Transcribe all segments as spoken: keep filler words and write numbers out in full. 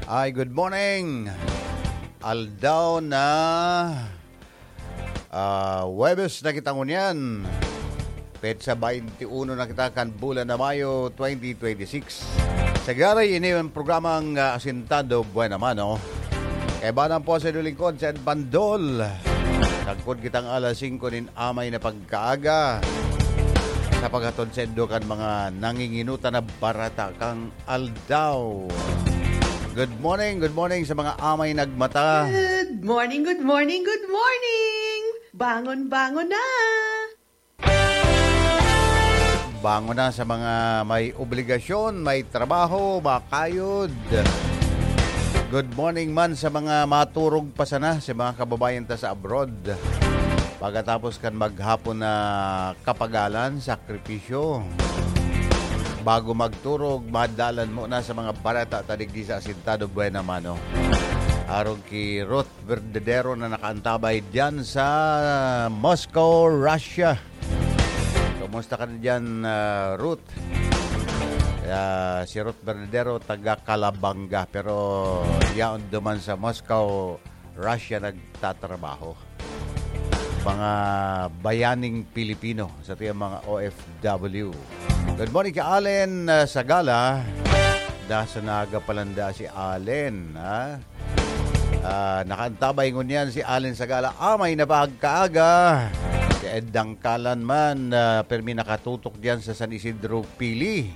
Ay, good morning. Aldaw na, ah, Huwebes na kita ngunyan. Petsa twenty-one na kita kan bulan na Mayo twenty twenty-six. Sa gari, ini ang programang, ah, Asintado Buena Mano. Kaibanan po sa lingkod, sa Ed Bandol. Sagkod kitang alas singko nin amay na pagkaaga. Sa paghatod sa indo kan mga nanginginutan na barata kang aldaw. Good morning, good morning sa mga amay nagmata. Good morning, good morning, good morning! Bangon, bangon na! Bangon na sa mga may obligasyon, may trabaho, makayod. Good morning man sa mga maturog pa sana, sa mga kababayan ta sa abroad. Pagkatapos kan maghapon na kapagalan, sakripisyo. Bago magturog, madalan mo na sa mga bareta ta digdi sa Asintado Buena Mano. Arog ki Ruth Verdadero na nakaantabay diyan sa Moscow, Russia. Kumusta ka na diyan, ah, Ruth? Ah, si Ruth Verdadero, taga Calabanga, pero yaon duman sa Moscow, Russia nagtatrabaho. Mga bayaning Pilipino sa tiyang mga O F W. Good morning kay Allen, ah, Sagala. Dasa naga palanda si Allen, ha? Ah, nakaantabay ngunyan si Allen Sagala. Amay na pagkaaga. Si Ed Dangkalan man, ah, permi nakatutok diyan sa San Isidro, Pili.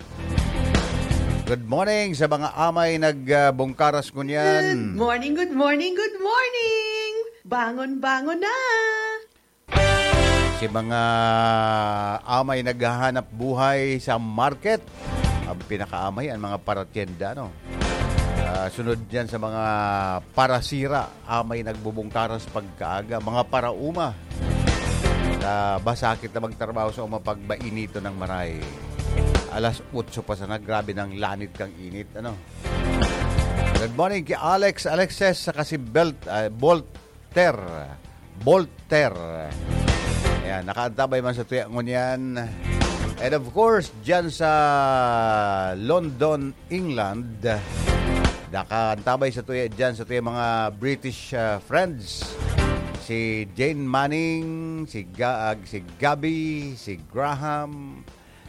Good morning sa mga amay nagbungkaras ngunyan. Good morning, good morning, good morning! Bangon, bangon na! Si mga amay naghahanap buhay sa market. Ang pinakaamay, ang mga paratyenda, no? Ah, sunod yan sa mga parasira, amay nagbubungkaras pagkaaga, mga parauma. Na basakit na magtrabaho sa uma pag mainito ng maray. Alas otso pa sana, grabe ng lanit kang init, ano? Good morning kay Alex Alexis, saka si Belt, ah, Volter. Volter. Ayan, nakaantabay man sa tuya ngunyan. And of course, dyan sa London, England, nakaantabay sa tuya dyan, sa tuya mga British, ah, friends. Si Jane Manning, si Ga-, ah, si Gabby, si Graham,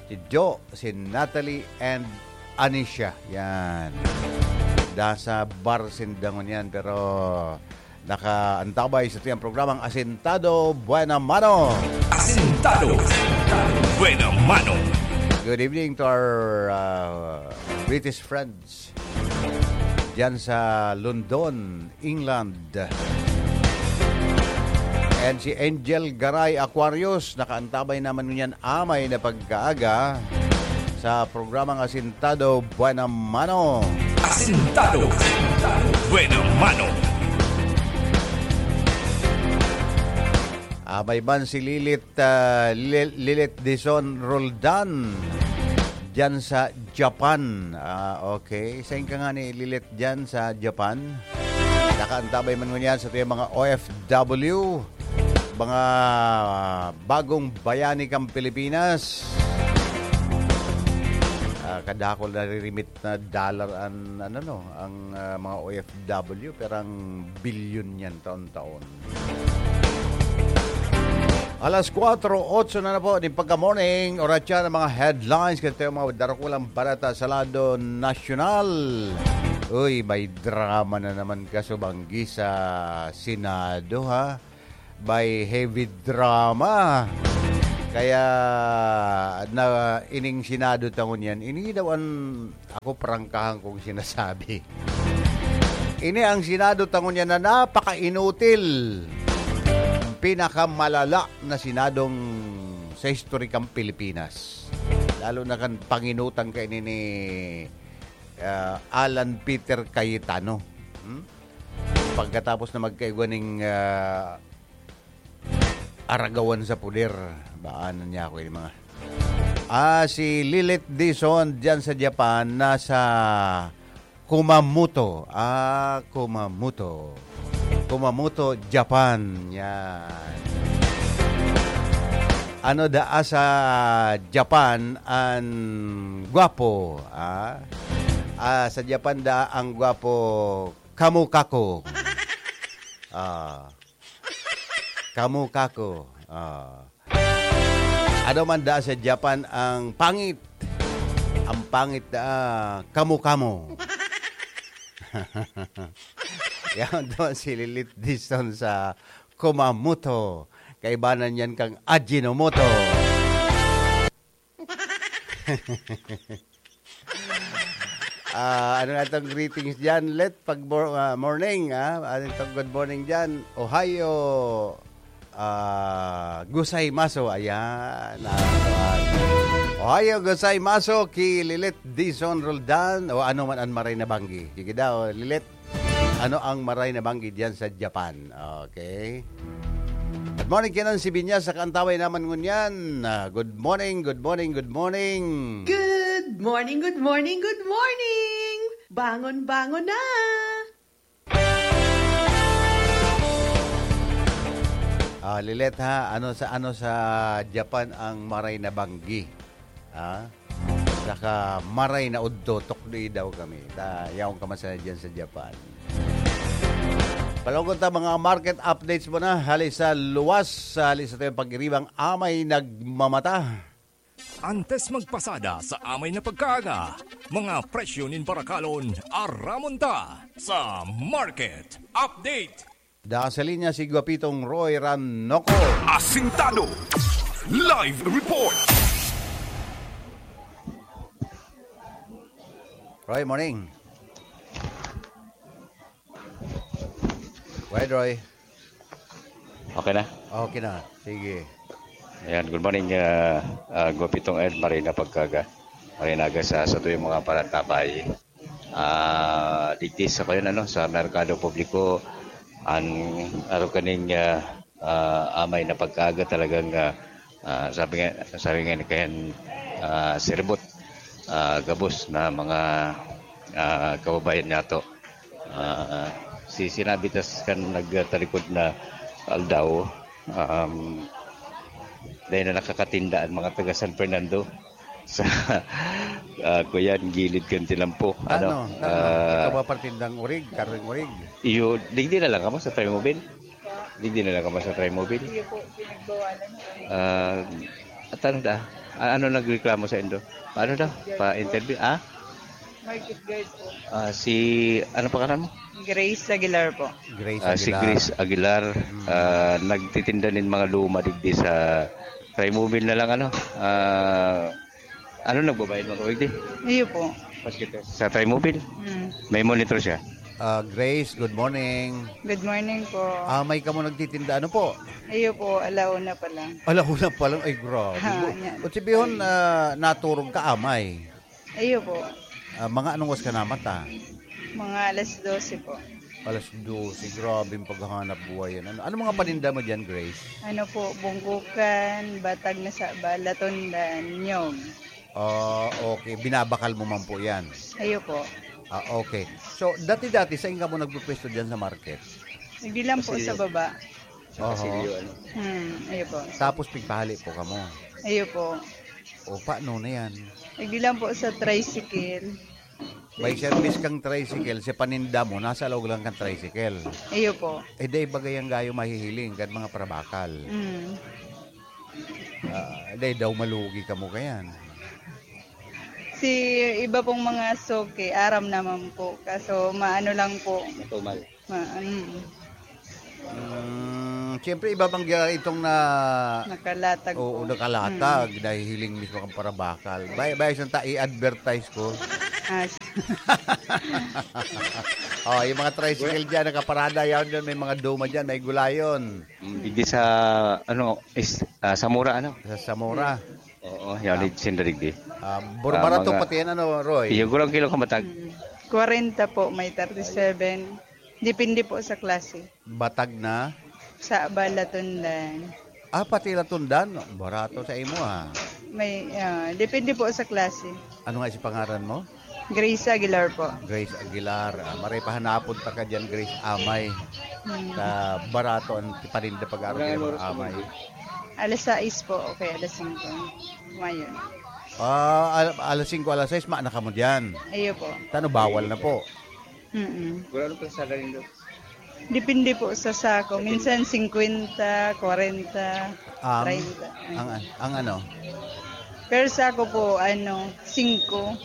si Jo, si Natalie, and Anisha. Yan. Nasa bar sinda ngunyan, pero nakaantabay sa tiyang programang Asintado Buena Mano. Asintado Buena Mano. Good evening to our, uh, British friends dyan sa London, England. And si Angel Garay Aquarius, nakaantabay naman ngunyan amay na pagkaaga sa programang Asintado Buena Mano. Asintado Buena Mano. Ah, may ban si Lilit, ah, Lil-, Lilit Dizon Roldan dyan sa Japan. Ah, okay. Sain ka nga ni Lilit dyan sa Japan? Nakaantabay man ngunyan sa tuyang mga O F W, mga bagong bayani kang Pilipinas. Ah, kadakol naririmit na dollar an, ano, no, ang, ah, mga O F W, pero ang bilyon yan taon-taon. Alas kwatro otso na na po, di pagka-morning, oras yan ang mga headlines, kasi tayo mga darukulang balita sa lado nasyonal. Uy, may drama na naman kasubanggi sa Senado, ha? May heavy drama. Kaya na ining Senado tangon yan, ini daw ang ako prangkahan kong sinasabi. Ini ang Senado tangon yan na napaka-inutil. Ang pinakamalala na Senadong sa historikang Pilipinas. Lalo na kan panginutan kaini ni, ah, Alan Peter Cayetano. Hmm? Pagkatapos na magkaigwa ning, ah, aragawan sa puder, baanan niya ako ini mga. Ah, si Lilit Dizon diyan sa Japan, nasa Kumamoto. Ah, Kumamoto. Kumamoto, Japan. Yan. Ano daa sa Japan an gwapo, ah? Ah, sa Japan da ang gwapo, kamukako. Ah. Kamukako. Ah. Ano man da sa Japan ang pangit? Ang pangit da, kamukamo. Yan to si Lilith Dizon sa Kumamoto. Kaibanan yan kang Ajinomoto. Ah, ano nga itong greetings dyan? Let pag mor- ah, morning, ah. Ano itong good morning dyan? Ohio, ah, gozaimasu. Ayan. Ah, Ohio gozaimasu ki Lilet Dizon Roldan o ano man ang maray na banggi. Sige daw, Lilet. Ano ang maray na banggi diyan sa Japan? Okay. Good morning, Kinan Sibinya sa Kantaway naman ngunyan. Ah, good morning, good morning, good morning. Good morning, good morning, good morning! Bangon, bangon na! Ah, Lilet ha, ano sa ano sa Japan ang maray na banggi? Ha? Saka maray na udto, tukdoy daw kami. Ta, yaon ka man sana dyan sa Japan. Palungkot ta mga market updates mo na. Hali sa luwas, hali sa tuyang pag-iribang amay nagmamata. Antes magpasada sa amay na pagkaaga, mga presyo nin barakalon, aramon ta sa Market Update. Da sa linya si Guapitong Roy Ranoco. Asintado. Live report. Roy, morning. Wait, Roy. Okay na? Okay na. Sige. Ayan, good morning, uh, uh, Guapitong Ed, Marina Pagkaga. Marinaga sa sa tuyong mga panatapay. Ah, digdi sa kayon, ano, sa merkado publiko, ang araw kaning, ah, ah, amay na pagkaaga talagang, ah, ah, sabi nga, sabi nga ni kayan, ah, siribot, ah, gabos na mga, ah, kababayan nato. Ah, si sinabi tas kan nagtalikod na aldaw, um, dahil na nakakatinda ang mga taga San Fernando sa, ah, kuyan, gilid kan tinampo. Ano? Ano? Ah, Ikaw ba partindang urig? Karing urig? Iyo, digdi na lang kamo sa Trimobile? Digdi na lang kamo sa Trimobile? Iyo po, pinagbawalan po. Ah, at ano da? Ah, ano nagreklamo sa indo? Paano daw? Pa-interview? Ah? Market guard po. Ah, si, ano pangalan mo? Grace Aguilar po. Grace Ah, si Aguilar. Grace Aguilar, ah, nagtitinda nin mga luma digdi sa Trimobile na lang, ano? Ah, ano nagbabayad mo, Kuwig, di? Iyo po. Sa Trimobile? Hmm. May monitor siya? Ah, Grace, good morning. Good morning po. Ah, may kamo nagtitinda. Ano po? Iyo po, alauna pa lang. Alauna pa lang. Ay, grabe. Ha, Bu- yan. Utsibihon, ah, naturog ka amay. Iyo po. Ah, mga anong oras ka namata? Mga alas dose po. Alas dose. Grabe yung paghahanap buhay yan. Ano, ano mga paninda mo dyan, Grace? Ano po, bungkukan, batag na sa balatondan, nyog. Ah, okay. Binabakal mo man po yan? Iyo po. Ah, okay. So, dati-dati, saan ka mo nagpupwesto dyan sa market? Hindi lang po sa baba. Oho. Hmm, iyo po. Tapos pigpahali po kamo. Iyo po. O, paano na yan? Hindi lang po sa tricycle. May service kang tricycle, si paninda mo, nasa loob lang kang tricycle. Iyo po. Eh, dahil bagay ang gayo mahihiling, kan mga parabakal. Mm. Ah, dahil daw malugi ka mo kayan. Si iba pong mga suki, aram naman po. Kaso maano lang po. Matumal. Ma, mm, Mm, siyempre, iba bang ga- itong na... nakalatag Oo, po. nakalatag. Dahil hiling mismo kang parabakal. Bay, bay, isang ta, i-advertise ko. Ah, Oh, yung mga tricycle dyan, nakaparada yan dyan. May mga duma dyan, may gulayon. Mm, digdi sa, ano, is, ah, Samora, ano? Sa Samora. Oo, yan, ah, sinda digdi. Ah, bur- barato mga- pati yan, ano, Roy? Iyo, gurang kilo kamatag. Mm. kwarenta po, may thirty-seven. Depende po sa klase. Batag na? Sa balatondan. Ah, pati latundan. Barato sa imo, ha? May, ah, depende po sa klase. Ano nga si pangaran mo? Grace Aguilar po. Grace Aguilar. Ah, maray pahanapon ta ka dyan, Grace Amay. Hmm. Sa barato ang paninda pag-araw ng Amay. Alas sais po, okay, alas singko. Ngayon. Ah, al-, alas singko, alas sais, maana kamo diyan. Iyo po. Tano, bawal na po. Mm-mm. Wala nang kalsada nindo. Depende po sa sako. Minsan singkwenta, kwarenta, Ang, treinta. Ang, ang ano? Pero sako po, ano, singko.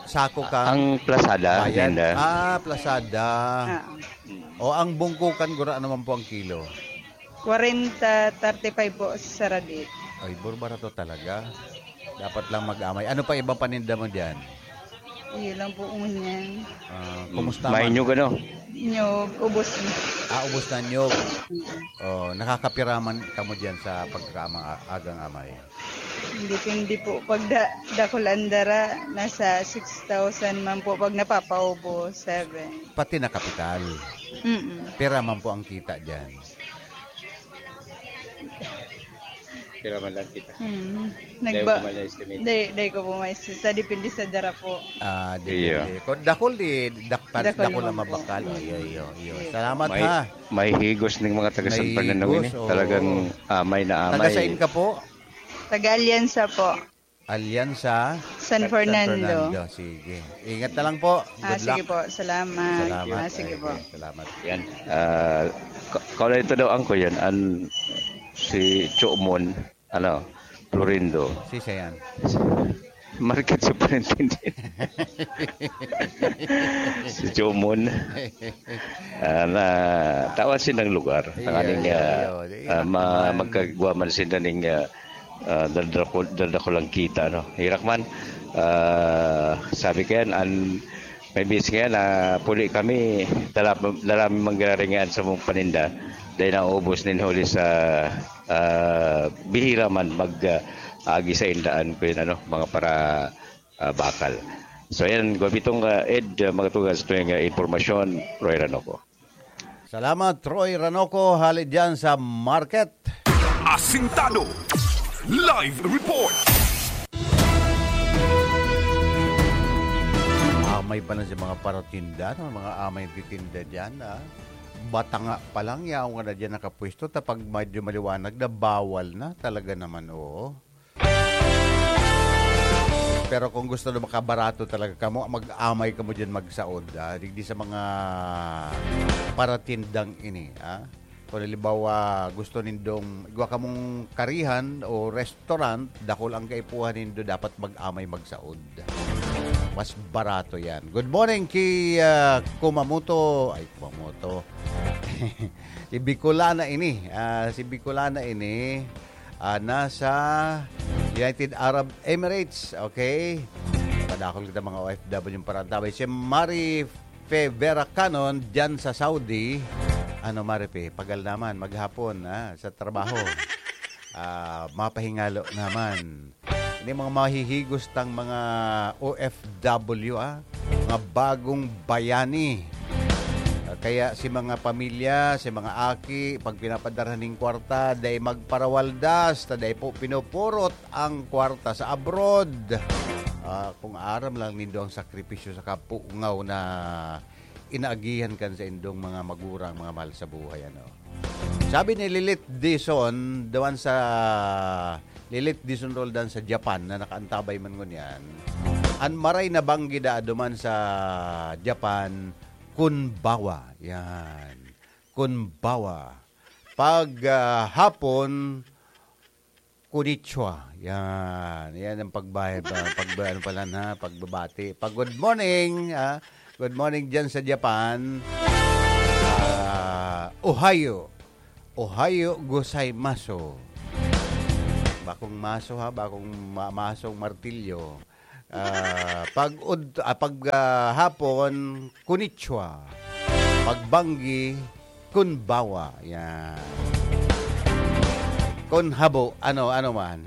Sako ka? Ang plasada, Bayad? Ninda? Ah, plasada. Ah. O ang bungkukan, gura naman po ang kilo? Kwarenta, thirty-five po sa Radit. Ay, bur-, barato talaga. Dapat lang mag-amay. Ano pa ibang paninda mo diyan? Yun lang po, ngunyan. Ah, kumusta May man? Nyug, ano? Nyug, ubos na. Ah, ubos na nyug. Mm. Oh, nakakapira man kamo diyan sa pagkakaamang a-, agang amay? Depende po. Pag da-, dakul ang dara, nasa six thousand man po. Pag napapaubos, seven. Pati na kapital. Mm-mm. Pira man po ang kita diyan? Pira man lang kita. Mm. Dahil Nagba-, ko man na-estimate. Dahil, dahil ko po ma-estimate. Sa depende sa dara po. Ah, di, Iyo. Di. Kung dakul, di, dak-, Dakul dakul lang lang po. Mabakal. Mm. Iyo, iyo, iyo. Iyo. Salamat, May, ha. May higos ning mga taga San May Fernando higos, ini. Oo. Talagang amay na amay. Taga saan ka po? Taga Alianza po. Alianza? San Fernando. San Fernando. Sige. Ingat na lang po. Ah, Good sige luck. Po. Salamat. Salamat. Ah, sige Ay, po. Salamat. Yan. Ah, ka-, kaulay ito daw, angko yan. An, si Chomon, ano, Florindo. Si Sayan. Market superintendent. Si Chomon. Ah, na, tawa siya ng lugar. Iya, Tanganing, iya, ah, iya. ah, ma-, magkagwa man siya ning, ah, ah, dadako-, dadakulang kita, no? Hirak man, ah, sabi ko yan, an, may bis nga yan, ah, puli kami, dala, dala mi manggararingaan sa mong paninda, dahil naubos nin huli sa, ah, bihira man mag, ah, agi sa indaan ko yun, ano, mga para, ah, bakal. So, yan, Gobitong, ah, Ed, ah, mga tugas ito yung, ah, impormasyon, Roy Ranoco. Salamat, Roy Ranoco, hali dyan sa market. Asintado. Live report. Amay pa na sa mga paratinda, no? Mga amay titinda dyan, ah. Batanga pa lang, yaon ka na dyan nakapwesto. Tapag medyo maliwanag na, bawal na. Talaga naman, oo. Pero kung gusto na makabarato talaga kamo, mag-amay kamo diyan magsaod, ah, digdi sa mga paratindang ini, ah. Kung halimbawa, gusto nindong igwa kamong karihan o restaurant, dakul ang kaipuhan nindo, dapat mag-amay magsaod. Mas barato yan. Good morning ki, ah, Kumamoto. Ay, Kumamoto. Si Bicolana ini. Ah, si Bicolana ini. Ah, nasa United Arab Emirates, okay? Padakol kita mga O F W yung parantabay. Si Mari Fe Vera Canon dyan sa Saudi. Ano, Mari Fe? Pagal naman, maghapon, ah, sa trabaho. Ah, mapahingalo naman. Ini mga mahihigos tang mga O F W, ah, mga bagong bayani. Ah, kaya si mga pamilya, si mga aki, pag pinapadara ning kwarta, dai magparawaldas, ta dai po pinupurot ang kwarta sa abroad. Ah, kung aram lang nindo ang sakripisyo sa kapungaw na inaagihan kan sa indong mga magurang, mga mahal sa buhay, ano. Sabi ni Lilith Dizon, duman sa Lilith Dizon Roldan sa Japan na nakaantabay man ngunyan, an maray na banggi daa duman sa Japan, konbawa. Yan. Konbawa. Pag, ah, hapon, konnichiwa. Yan. Yan ang pagbahay pa, pag, ano pala na, pagbabati. Pag good morning, ah. Good morning dyan sa Japan. Ah, ohayo. Ohayo gozaimasu. Bakong maso ha, bakong ma-, masong martilyo. Ah, pag ud-, ah, pag, ah, hapon, konnichiwa. Pag banggi, konbawa. Yan. Kon habo, ano, ano man.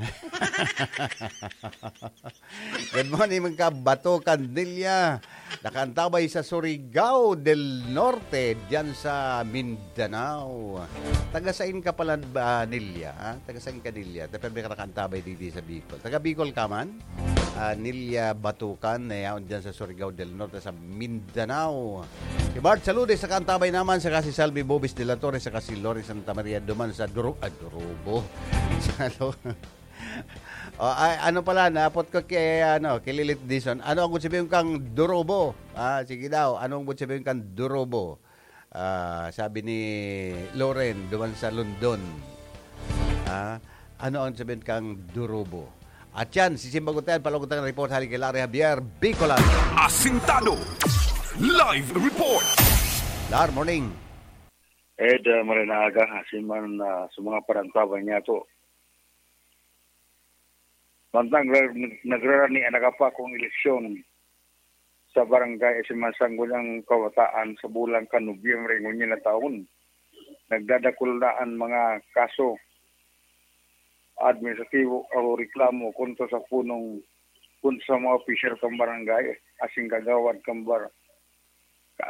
Good morning, mga kabato, Candilla. Nakaantabay sa Surigao del Norte, diyan sa Mindanao. Taga sain ka pala, ah, Nilia, ha? Taga sain ka, Nilia? Ta-, permi ka nakaantabay digdi sa Bicol. Taga Bicol ka man? Ah, Nilia Batukan, na yaon diyan sa Surigao del Norte, sa Mindanao. Si Bart Saludes, nakaantabay naman, saka si Salvi Bobis de la Torre, saka si Lori Santa Maria, duman sa Duru-, ah, Durubo. Sa Lo-, O, ay, ano pala, napot ko kay, ano, kay Lilith Dizon. Ano ang sabihin kang durubo? Ah, sige daw, ano ang sabihin kang durubo? Ah, sabi ni Loren, duman sa London. Ah, ano ang sabihin kang durubo? At yan, si Simbang Gutayan, palungkot ang report, hali kay Larry Javier, Bicolan. Asintado. Live report. Lar, morning. Ed, ah, maray na aga, asin man, ah, sa mga parantaban niya to. Mantang nag-, nagrarani an nakapakong eleksyon sa barangay asin mga sangguniang kabataan sa bulan kan Nobyembre ngunyan na taon, nagdadakul na an mga kaso administratibo o reklamo kontra sa punong, kontra sa mga opisyal kan barangay asin kagawad kan bar-,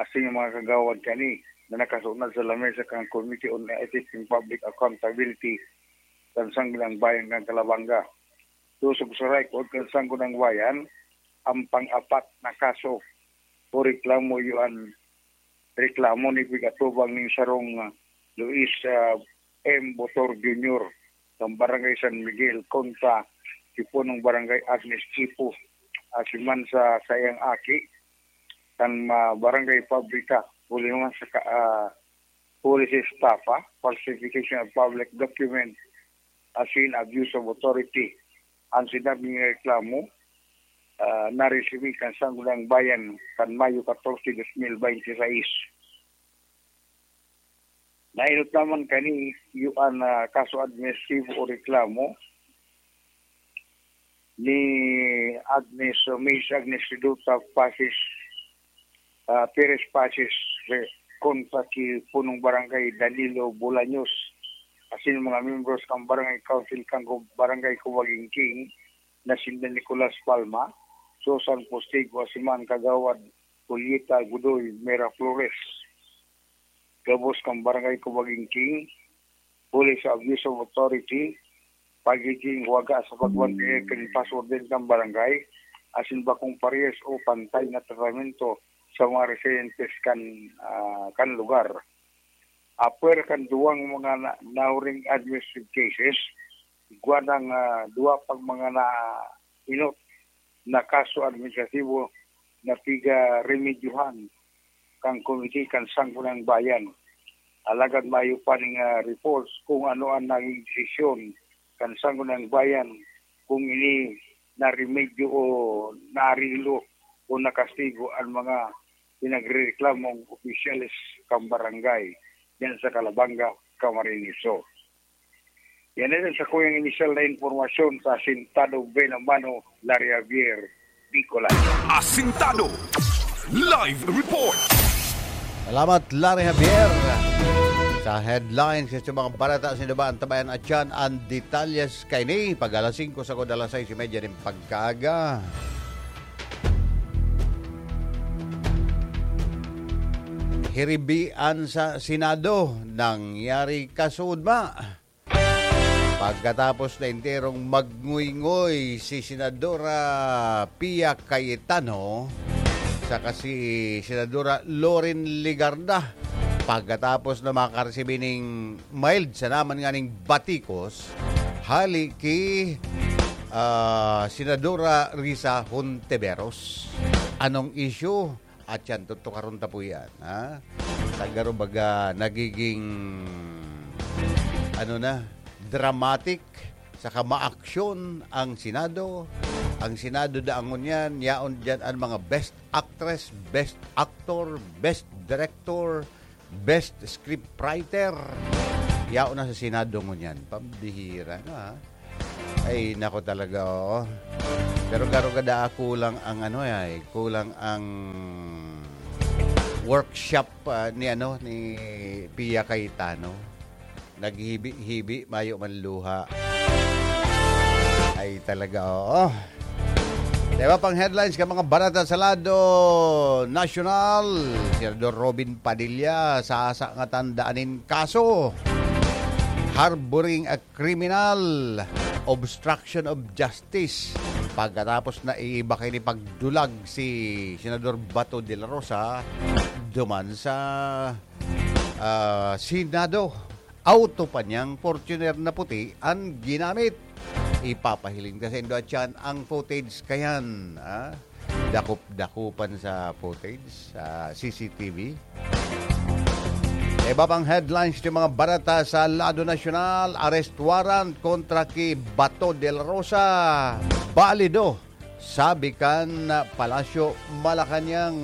asin mga kagawad kani na nakasunod sa lamesa kan Committee on Ethics and Public Accountability kan Sangguniang Bayan kan Calabanga. Sosog sa record kan Sangguniang Bayan, ang pang-apat na kaso o reklamo iyo an reklamo ni pigatubang nin sarong, ah, Luis, ah, M. Botor Junior kan Barangay San Miguel kontra ki punong Barangay Agnes Chipo, asin man sa saiyang aki kan, ah, Barangay Pabrika, huli naman sa ka-, ah, huli sa estafa, falsification of public document, asin abuse of authority. Ang sinabing reklamo, ah, naresibi kan Sangguniang Bayan kan Mayo katorse, dos mil bente seis. Naenot naman kani iyo an, ah, kaso administratibo o reklamo ni Agnes, Miss Agnes Reduta Pasis, ah, Perez Pasis, re-, kontra ki punong barangay Danilo Bolaños, asin mga miyembros kan barangay council kan Gu-, barangay Cubagingking na sinda Nicolas Palma, Susan Postigo, asin man kagawad Julieta Godoy Miraflores, gabos kan barangay Cubagingking, huli sa abuse of authority, pagiging waga sa pagbantayan kan password kan barangay, asin bakong parehas o pantay na tratamento sa mga residentes kan, ah, kan lugar. Apwera kan duwang mga na-, nahuring administrative cases, igwa nang, ah, duwa pang mga naenot na kaso administratibo na pigaremedyohan kan komite kan Sangguniang Bayan. Alagad mayo pa ning, ah, reports kung ano ang naging desisyon kan Sangguniang Bayan, kung ini naremedyo o naarilo o nakastigo ang mga pinagrereklamong opisyales kan barangay diyan sa Calabanga, Camarines Sur. Yan na sa kuyang inisyal na impormasyon sa Asintado Buena Mano, Larry Javier, Bicolan. Asintado Live Report. Salamat, Larry Javier. Sa headlines, sa mga balita, sino ba ang tabayan at yan? Ang detalyes kaini, pag alas singko sagkod alas sais y media nin pagkaaga. Hiribian sa Senado, nangyari kasudma. Pagkatapos na enterong magngoy-ngoy si Senadora Pia Cayetano saka si Senadora Loren Legarda, pagkatapos na makaresibi ning mild sana man nganing batikos hali ki, ah, Senadora Risa Hontiveros. Anong issue? At yan, tutukaron ta po yan, ha? Sa garo baga, nagiging, ano na, dramatic, saka maaksyon ang Senado. Ang Senado daangon yan, yaon dyan ang mga best actress, best actor, best director, best scriptwriter. Yaon na sa Senado ngunyan. Pambihira na, ha? Ay, nako talaga, oo. Pero garo gada, kulang ang ano, ay, kulang ang workshop, ah, ni ano, ni Pia Cayetano. Naghibi-hibi, mayo man luha. Ay, talaga, oo. Diba, pang headlines ka mga barata sa lado nasyonal, Senador Robin Padilla, sasa nga tandaan nin kaso. Harboring a criminal, obstruction of justice. Pagkatapos na iiba kayo ni pagdulag si Senador Bato de la Rosa duman sa, ah, Senado. Auto pa niyang Fortuner na puti an ginamit. ipapahiling ta saindo, atyan, ang footage kayan, ah, dakop-dakupan sa footage, sa C C T V. Iba pang headlines ng mga barata sa lado nasyonal, arrest warrant kontra ki Bato de la Rosa, balido, sabi kan Palasyo Malacañang.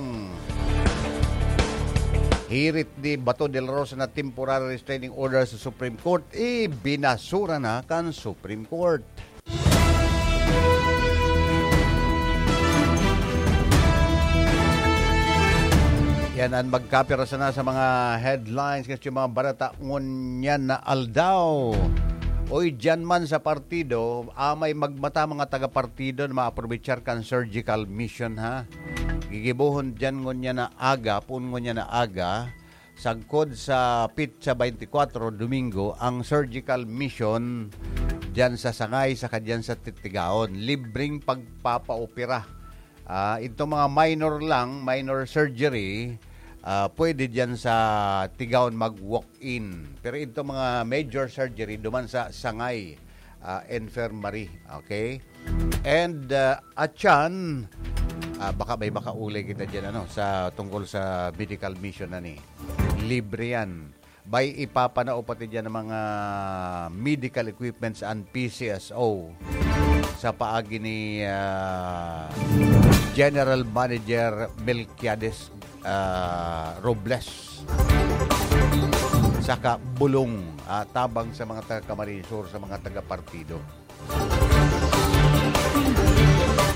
Hirit ni Bato de la Rosa na temporary restraining order sa Supreme Court, ibinasura na kan Supreme Court. Yan ang magkapira sana sa mga headlines kasi mga barata ngunyan na aldaw. Oy, dyan man sa partido, amay magmata mga taga-partido na maaprovechar kan surgical mission, ha? Gigibohon dyan ngunyan na aga, puon ngunyan na aga, sagkod sa pitsa twenty-four, Domingo, ang surgical mission dyan sa Sangay saka dyan sa Titigaon. Libreng pagpapaopera. Ah, itong mga minor lang, minor surgery, ah, pwede dyan sa Tigaon mag-walk-in. Pero itong mga major surgery, duman sa Sangay, ah, Infirmary. Okay? And, ah, atyan, ah, baka may makaulay kita dyan, ano, sa tungkol sa medical mission na ni. Libre yan. May ipapanao pati dyan ng mga medical equipments and P C S O sa paagi ni, ah, General Manager Melquiades, ah, Robles. Saka bulong, ah, tabang sa mga taga Camarines Sur, sa mga taga-partido.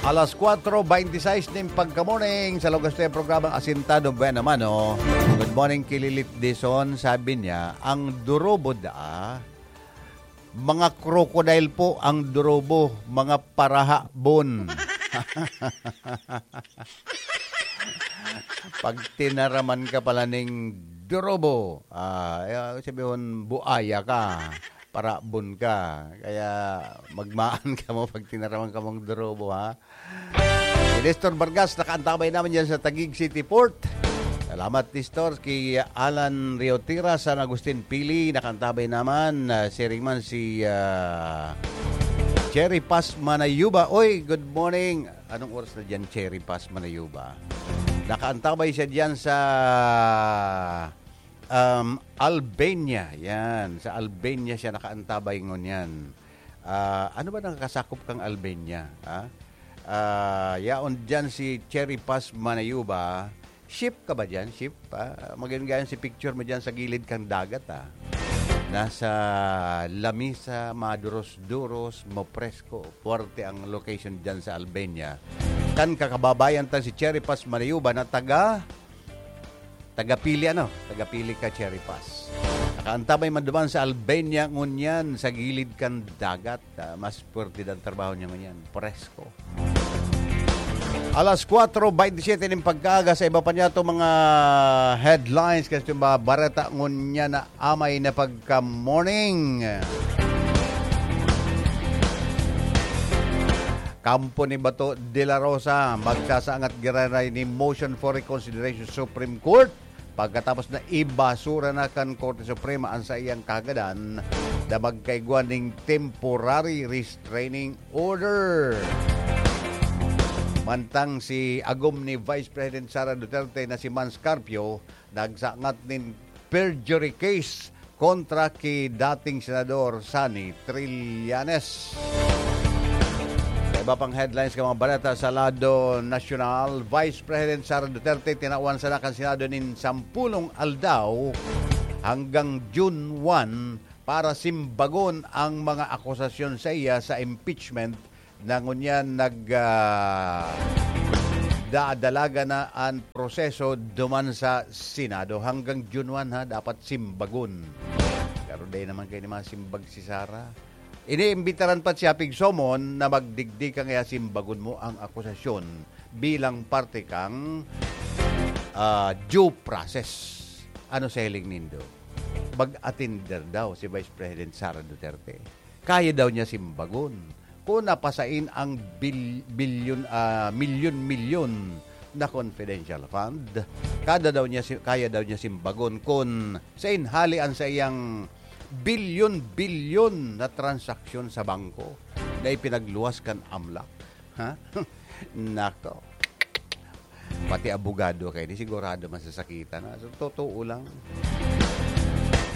Alas kwatro beintisais nin pagka-morning sa lugar sa programang Asintado Buena Mano. Good morning, Kililit Dison. Sabi niya, ang durobo da, mga crocodile po ang durobo, mga parahabon. Pag tinaraman ka pala ning durobo, ah, eh, sabi hon, buaya ka, parabon ka. Kaya magmaan ka mo pag tinaraman ka mong durobo, ha? Si Nestor Vargas, nakaantabay naman dyan sa Taguig City Port. Salamat, Nestor. Kay Alan Riotira, San Agustin Pili, nakaantabay naman. Ah, siring man si, ah, Cherry Paz Manayuba. Oy, good morning. Anong oras na dyan, Cherry Paz Manayuba? Nakaantabay siya dyan sa, um, Albania. Yan, sa Albania siya nakaantabay ngunyan. Ah, ano ba nakakasakop kang Albania? Ha? Ah, yaon dyan si Cherry Paz Manayuba. Ship ka ba dyan? Ship? Ah, maganda yan si picture mo dyan sa gilid kang dagat, ah. Nasa lamisa, maduros-duros, mapresko, puwerte ang location dyan sa Albania. Kan kakababayan ta si Cherry Paz Manayuba na taga, taga Pili, ano? Taga Pili ka, Cherry Paz. Nakaantabay man duman sa Albania ngunyan, sa gilid kan dagat. Ah, mas puwerte dan trabaho niya ngunyan. Presko. Alas kwatro beintisiyete nin pagkaaga, sa iba pa niya itong mga headlines kasi itong mga bareta ngunyan na amay na pagka-morning. Kampo ni Bato de la Rosa, magsasangat giraray ni motion for reconsideration sa Supreme Court pagkatapos na ibasura na kan Korte Suprema ang saiyang kahagadan na magkaigwa ning temporary restraining order. Mantang si agom ni Vice President Sara Duterte na si Mans Carpio nagsangat nin perjury case kontra ki dating Senador Sonny Trillanes. Sa iba pang headlines kan mga baleta sa lado nasyonal, Vice President Sara Duterte tinawan sana kan Senado nin sampulong aldaw hanggang June one para simbagon ang mga akusasyon sa iya sa impeachment na ngunyan nag, ah, daadalaga na an proseso duman sa Senado. Hanggang June one, ha, dapat simbagon. Pero dai naman kayo ni mga simbag si Sara. Iniimbitaran pa siya pig somon na magdigdi ka ngaya simbagon mo ang akusasyon bilang parte kang, ah, due process. Ano sa hiling nindo? Mag-atinder daw si Vice President Sara Duterte. Kaya daw niya simbagon. Kung napasain ang bil-, bilyon, ah, milyon-milyon na confidential fund, kada daw niya si-, kaya daw niya simbagon kung sain hali an saiyang bilyon-bilyon na transaksyon sa bangko. na ipinagluwas kan amlak. Ha? Nako. Pati abogado kayo, di sigurado masasakitan. Ha? So, totoo lang.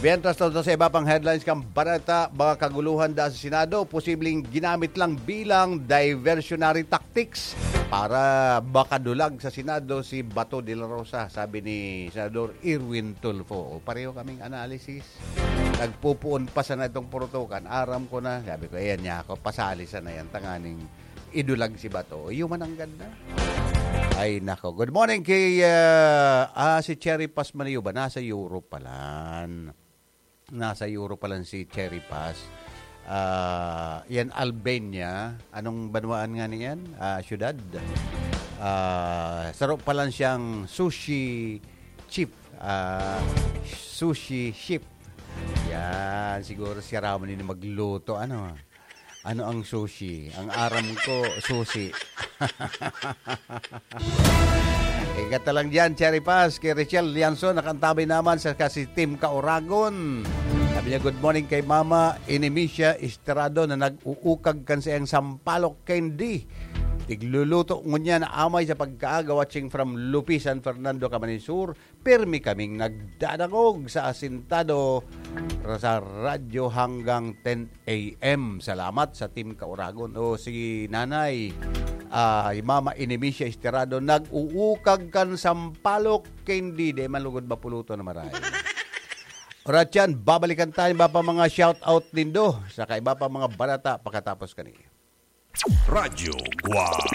Mientras tanto, sa iba pang headlines kan balita, mga kaguluhan da sa Senado, posibleng ginamit lang bilang diversionary tactics para makadulag sa Senado si Bato de la Rosa, sabi ni Senador Erwin Tulfo. O, pareho kaming analysis. Nagpupuon pa sana itong purutukan. Aram ko na. Sabi ko, "Ayan niya ako. Pasali sana yan. Tanganing idulag si Bato." Human nanggad na. Ay, nako. Good morning kay, ah, ah, si Cherry Paz Maniuba. Nasa Europe palan. Nasa Europe palan si Cherry Paz. Ah, yan, Albania. Anong banwaan nga niyan? Ah, syudad. Ah, saro palan siyang sushi chef. Ah, sushi chef. Yan, siguro siya raman ini magluto. Ano? Ano ang sushi? Ang aram ko, sushi. Ingat na lang dyan, Cherry Paz. Kay Richel Lianzon, nakaantabay naman sa kasi Team Kauragon. Sabi niya, "Good morning kay Mama Inimisia Estrado na nag-uukag kan saiyang sampalok candy. Tigluluto ngunyan na amay sa pagkaaga, watching from Lupi, San Fernando, Camarines Sur. Pirmi kaming nagdadangog sa asintado sa radyo hanggang ten a m." Salamat sa Team Kauragon. O si Nanay, ah, Mama Inimisia Esterado, nag-uukag kan sampalok candy. Di man lugod mapuluto na maray. Orat yan, babalikan tayo iba pa mga shout out nindo sa kaiba pa mga balita pakatapos kani. Radyo Guam.